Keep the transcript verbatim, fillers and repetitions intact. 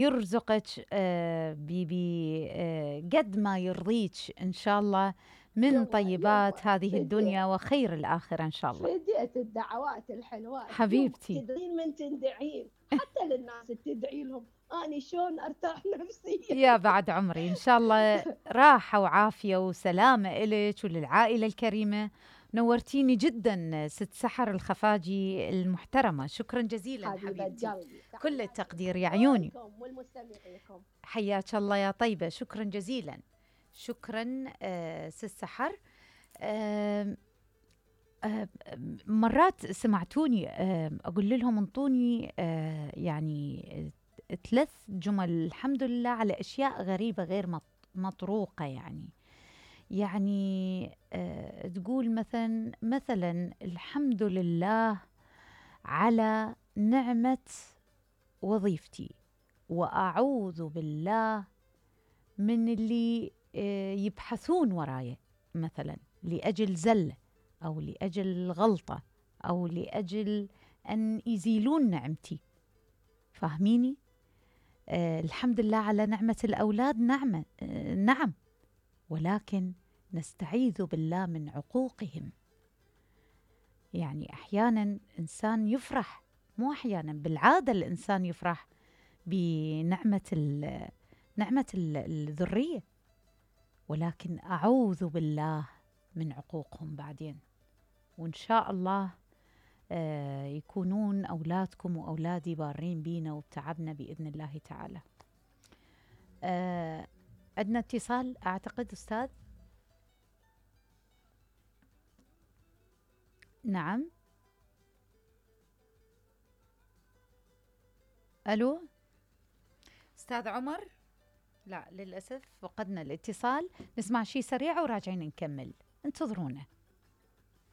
يرزقك آه بي آه قد ما يرضيك إن شاء الله من طيبات هذه الدنيا وخير الآخرة إن شاء الله. فديت الدعوات الحلوات حبيبتي. تدعين من تدعين حتى للناس تدعي لهم أني شلون أرتاح نفسيا. يا بعد عمري إن شاء الله راحة وعافية وسلامة إلك وللعائلة الكريمة. نورتيني جدا ست سحر الخفاجي المحترمة، شكرا جزيلا حبيبتي. كل التقدير يا عيوني. والمستمعيكم حياك الله يا طيبة، شكرا جزيلا. شكرا آه ست سحر. آه آه مرات سمعتوني آه أقول لهم انطوني آه يعني ثلاث جمل الحمد لله على أشياء غريبة غير مطروقة. يعني يعني آه تقول مثلا مثلا الحمد لله على نعمة وظيفتي، وأعوذ بالله من اللي آه يبحثون وراي مثلا لأجل زلة أو لأجل غلطة أو لأجل أن يزيلون نعمتي. فاهميني؟ آه الحمد لله على نعمة الأولاد، نعمة آه نعم، ولكن نستعيذ بالله من عقوقهم. يعني أحيانا إنسان يفرح، مو أحيانا، بالعادة الإنسان يفرح بنعمة نعمة الذرية، ولكن أعوذ بالله من عقوقهم بعدين. وإن شاء الله آه يكونون أولادكم وأولادي بارين بينا وبتعبنا بإذن الله تعالى. آه عندنا اتصال أعتقد أستاذ. نعم. ألو أستاذ عمر؟ لا للأسف فقدنا الاتصال. نسمع شي سريع وراجعين نكمل، انتظرونا.